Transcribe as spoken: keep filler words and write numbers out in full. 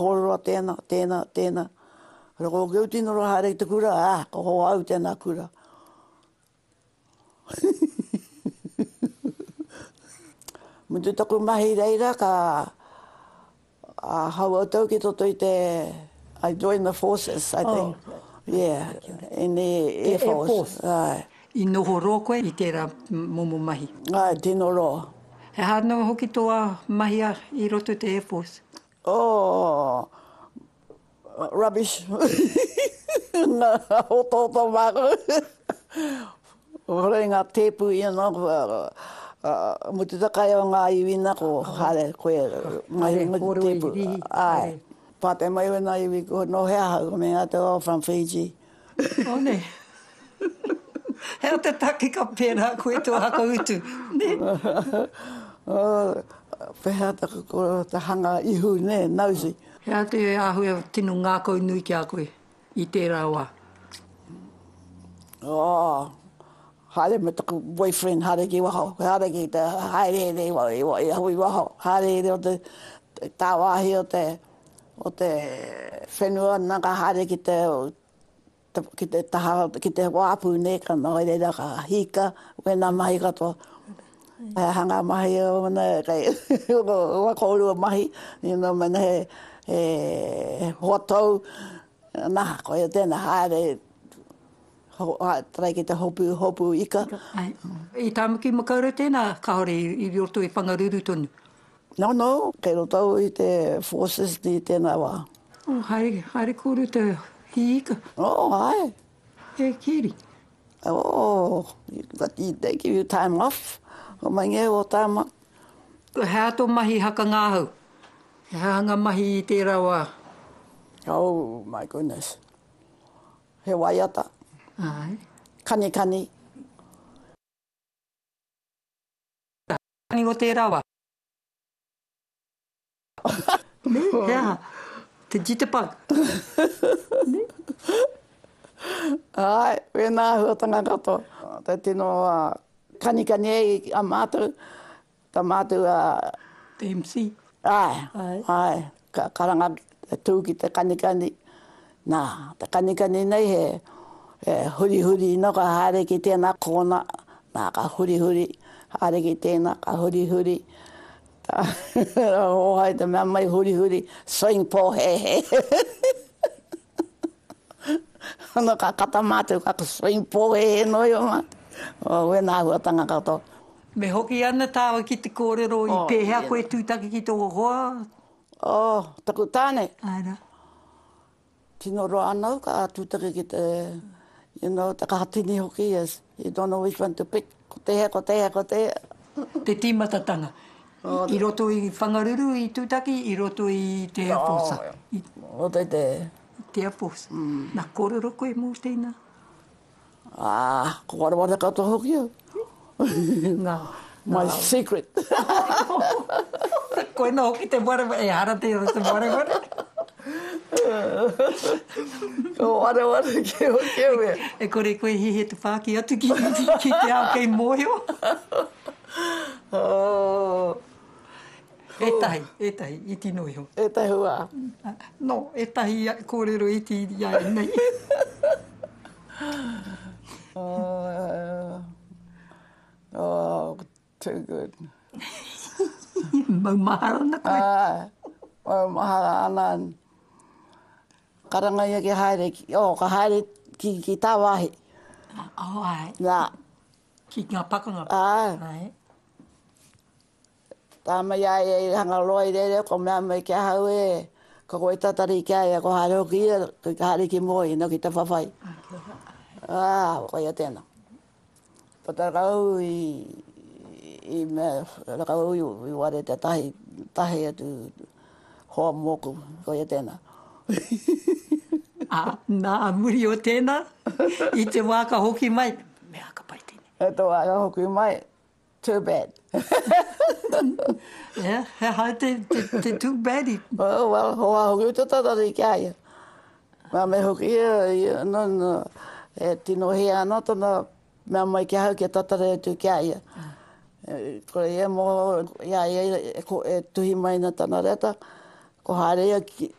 kōrero a tēnā, tēnā, tēnā. Ko au tino roa haere ki te kura, ah, ko hoa au tēnā kura. Mutu taku mahi reira, ka hau au tau ki toto i te, I joined the forces, I think. Oh. Yeah, in the Air Force. Air Force. Ai. I noho roa koe i tērā momo mahi? Ai, tino roa. He aha anō hoki tō mahi i roto i te Air Force? Oh, rubbish. Ngā otooto māku. Hore ngā tēpu you know, mutu te kai o ngā iwi na ko haere koe mahi me te tēpu. Ai. Pātai mai wena iwi ko no hea ahau, ko me atu oh from Fiji. Oh ne. He aha te take ka pērā koe tō hakautu, ne? Oh, pehea taku koro te hanga ihu, ne, nosy. He aha te āhua tino ngākau nui ki a koe i tērā wā? Oh, haere me taku boyfriend, haere ki waho, haere ki te haereere i, i, i waho, haereere o te tāwāhi o te, o te whenua, nā ka haere ki te, ki te taha, ki te wāpu, nē, ka noho i reira, ka hīka, wēnā mahi katoa. He aha ngā mahi o ana, kei, wa kōrua mahi, you know, mena he, he hoa tou, nā, koia tēnā, haere, ho, try ki te hopu, hopu ika. Ai. I Tāmaki Makaurau tēnā, kāore i roto i Whangaruru tonu? No, no, kei roto i te forces i tēnā wā. Oh, haere, haere kōrua te hī ika? Oh, hae. E keri. Oh, but they give you time off. O mai ngē o tāma. He aha tō mahi haka ngāhau? He aha ngā mahi i tērā wā? Oh, my goodness. He waiata. Ai. Kanikani. Kani o tērā wā? Ne, he aha? Te jitterbug. Ne? Ai, wēnā āhuatanga katoa. Te tino kanikani ai a mātou, ta mātou a... Te M C. Ai, ai, ka karanga te tū ki te kanikani. Nā, te kanikani nei he, he hurihuri no ka haere ki tēnā kōna, nā ka hurihuri, haere ki tēnā, ka hurihuri. Hōhai te mea mai hurihuri, swing pōhēhē. Ana ka kata mātou, ka swing pōhēhē noa iho mātou. O, wēnā āhuatanga katoa. Me hoki ana tāua ki te kōrero i pēhea koe tūtaki ki tō hoa? Oh, taku tāne. Ai rā. Tino roa anau ka tūtaki ki te, you know, te kahatini hoki, yes. You don't know which one to pick. Ko te hea, ko te hea, ko te hea. Te tīmatatanga. I roto i Whangaruru i tūtaki, i roto i te Air Force. O te te. Te Air Force. Nā kōrero koe mō tēnā? Ah, ko wareware katoa hoki au. Ngā. My secret. Koina hoki te wareware, e hara te te wareware. Ko wareware ki hoki au e. E kore koe hihi te whāki atu ki, ki te ao kei mōhio. Oh. Ētahi, ētahi, iti noa iho. Ētahi wā. No, ētahi kōrero iti i a nei. Oh, oh, too good. Maumahara ana koe. Ah, maumahara ana. Karanga ia ki haere, ki, oh, ka haere ki, ki tāwāhi. Oh, ai. Nā. Ki ngā pakanga. Ai. Ai. Tā mai ai e hanga roa i reira, ko mea mai ki ahau e, ko koe tatari ki a ia, ko haere hoki ia, ko haere ki mua i no ki te whawhai. Ah, koia tēnā. Pata rau i, i mea, rakau i, i ware te tahi, tahi atu hoa mōku, koia tēnā. Ah, nā, a muri o tēnā, i te wā ka hoki mai, mea ka pai tēnei. E te wā ka hoki mai, too bad. Yeah, he hai te, te, te too bad i. Oh, well, hoa hoki o te tatari ki a ia. Mea me hoki ia, ia, no, no, e tino hea ana tana mea mai ki ahau kia tatari atu ki a ia. E, kore ia mō, i a ia e, e, e tuhi mai na tana reta, ko haere ia ki